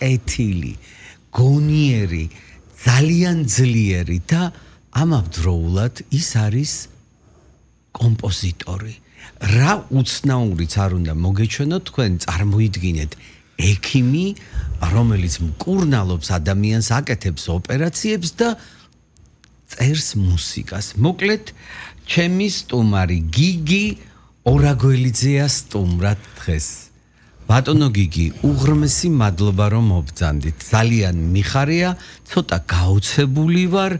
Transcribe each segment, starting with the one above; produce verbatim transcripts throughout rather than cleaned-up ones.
კეთილი, გონიერი, ძალიან ძლიერი და ამავდროულად ის არის კომპოზიტორი. რა უცნაურიც არ უნდა მოგეჩვენოთ თქვენ წარმოიდგინეთ ექიმი, რომელიც მკურნალობს ადამიანს, აკეთებს ოპერაციებს და წერს მუსიკას. მოკლედ, ჩემი სტუმარი გიგი ორაგველიძეა სტუმრად დღეს. ბატონო გიგი, უღრმესი მადლობა რომ მობრძანდით. ძალიან მიხარია, ცოტა გაოცებული ვარ,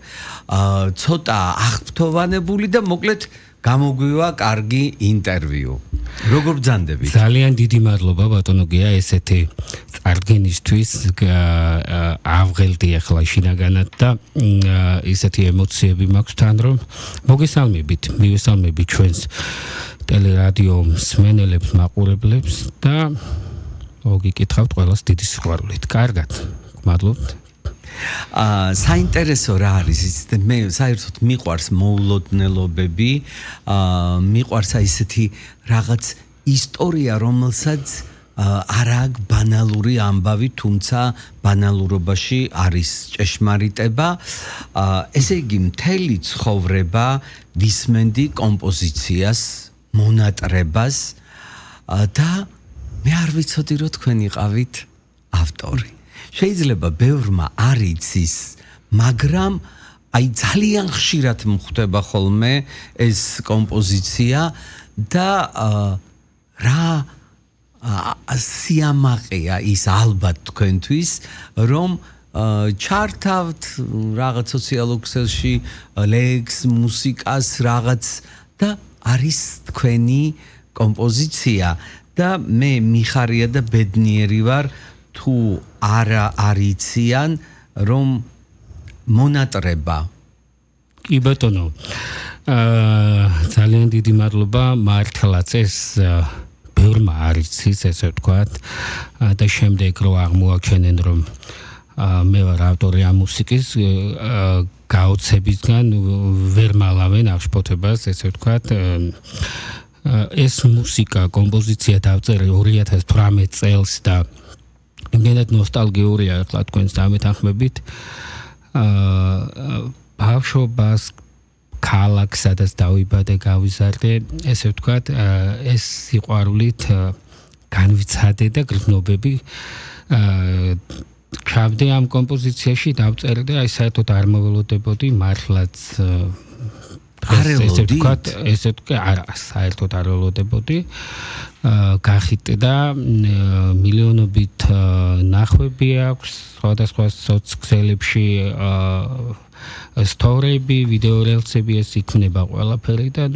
ცოტა აღფრთოვანებული და მოკლედ გამოგვივა კარგი ინტერვიუ. როგორ ბრძანდებით? ძალიან დიდი მადლობა ბატონო გია ესეთი წარდგენისთვის. ავღელდი ახლა შინაგანად და ესეთი ემოციები მაქვს თან რომ მოგესალმებით, მივესალმებით ჩვენს ტელერადიო მსმენელებს, მაყურებლებს და მოგიკითხავთ ყველას დიდი სიყვარულით. კარგად, გმადლობთ. აა საინტერესო რა არის იცით მე საერთოდ მიყვარს მოულოდნელობები აა მიყვარს ესეთი რაღაც ისტორია რომელსაც არ აქვს ბანალური ამბავი თუმცა ბანალურობაში არის ჭეშმარიტება აა ესე იგი მთელი ცხოვრება ვისმენდი კომპოზიციას მონატრებას და მე არ ვიცოდი რომ თქვენ იყავით ავტორი შეიძლება ბევრმა არ იცის, მაგრამ აი ძალიან ხშირად მხვდება ხოლმე ეს კომპოზიცია და რა სიამაყეა ის ალბათ თქვენთვის, რომ ჩართავთ რაღაც სოციალურ ქსელში ლექს, მუსიკას, რაღაც და არის თქვენი კომპოზიცია და მე მიხარია და ბედნიერი ვარ თუ არა არიციან რომ მონატრება კი ბატონო აა ძალიან დიდი მადლობა მართლაც ეს ბევრმა არიცის ესე ვთქვათ და შემდეგ რო აღმოაჩენენ რომ მე ვარ ავტორი ამ მუსიკის გაოცებისგან ვერ მალავენ აღშფოთებას ესე ვთქვათ ეს მუსიკა კომპოზიცია დავწერე ორი ათას თვრამეტ წელს და იმენად ნოსტალგიურია ახლა თქვენს დამეთანხმებით აა ბავშვობას ქალაქ სადაც დავიბადე გავიზარდე ესე ვთქვათ ეს სიყვარულით განვიცადე და გრძნობები აა ჩავდე ამ კომპოზიციაში დავწერე და აი საერთოდ არ მოველოდებოდი მართლაც ესე ვთქვათ ესე ვთქვათ არა საერთოდ არ ველოდებოდი გახიტე და მილიონობით ნახვები აქვს სხვადასხვა სოციალებში სტორიები, ვიდეო რილსები ეს იქნება ყველაფერი და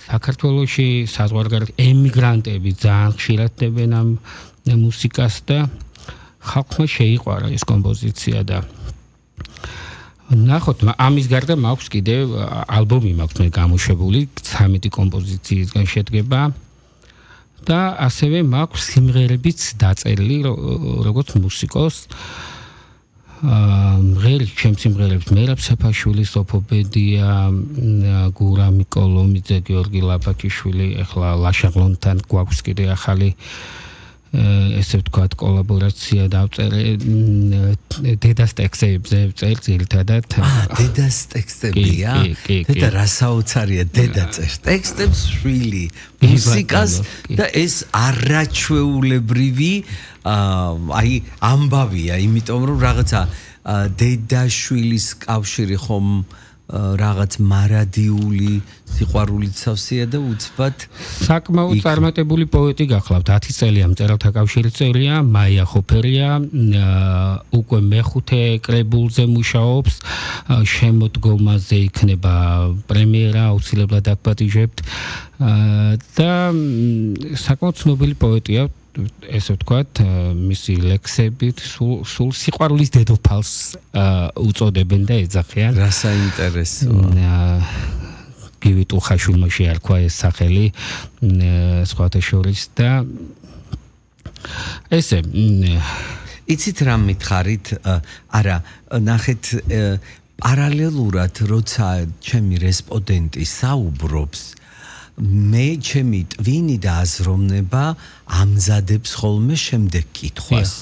საქართველოში საზღვარგარეთ ემიგრანტები ძალიან ხშირად დებენ ამ მუსიკას და ხალხმა შეიყვარა ეს კომპოზიცია და ნახოთ ამის გარდა მაქვს კიდე ალბომი მაქვს მე გამოშვებული ცამეტი კომპოზიციისგან შედგება და ასევე მაქვს სიმღერებიც დაწერილი როგორც მუსიკოს მღერი ჩემ სიმღერებს მერაბ საფაშვილი, სოფო ბედია, გურა მიკოლომიძე, გიორგი ლაბაკიშვილი, ახლა ლაშაღლონთან გვაქვს კიდე ახალი ესე ვთქვათ კოლაბორაცია დავწერე დედას ტექსტებზე წერ ძირითადად დედას ტექსტებია დედა რა საოცარია დედა წერს ტექსტებს შვილი მუსიკას და ეს არაჩვეულებრივი აი ამბავია იმიტომ რომ რაღაცა დედა შვილის კავშირი ხომ რაღაც მარადიული სიყვარულით სავსეა და უცბად საკმაოდ წარმატებული პოეტი გახლავთ ათი წელია მწერალთა კავშირის წევრია მაია ხოფერია უკვე მეხუთე კრებულზე მუშაობს შემოდგომაზე იქნება პრემიერა აუცილებლად დაგპატიჟებთ და საკმაოდ ცნობილი პოეტია ესე ვთქვათ მისი ლექსებით სულ სიყვარულის დედოფალს უწოდებენ და ეძახიან რა საინტერესო გივით უხაშულმა შეარქვა ეს სახელი სხვათა შორის და ესე იცით რა მითხარით არა ნახეთ პარალელურად როცა ჩემი რესპონდენტი საუბრობს მე ჩემი ტვინი და აზროვნება ამზადებს ხოლმე შემდეგ კითხვას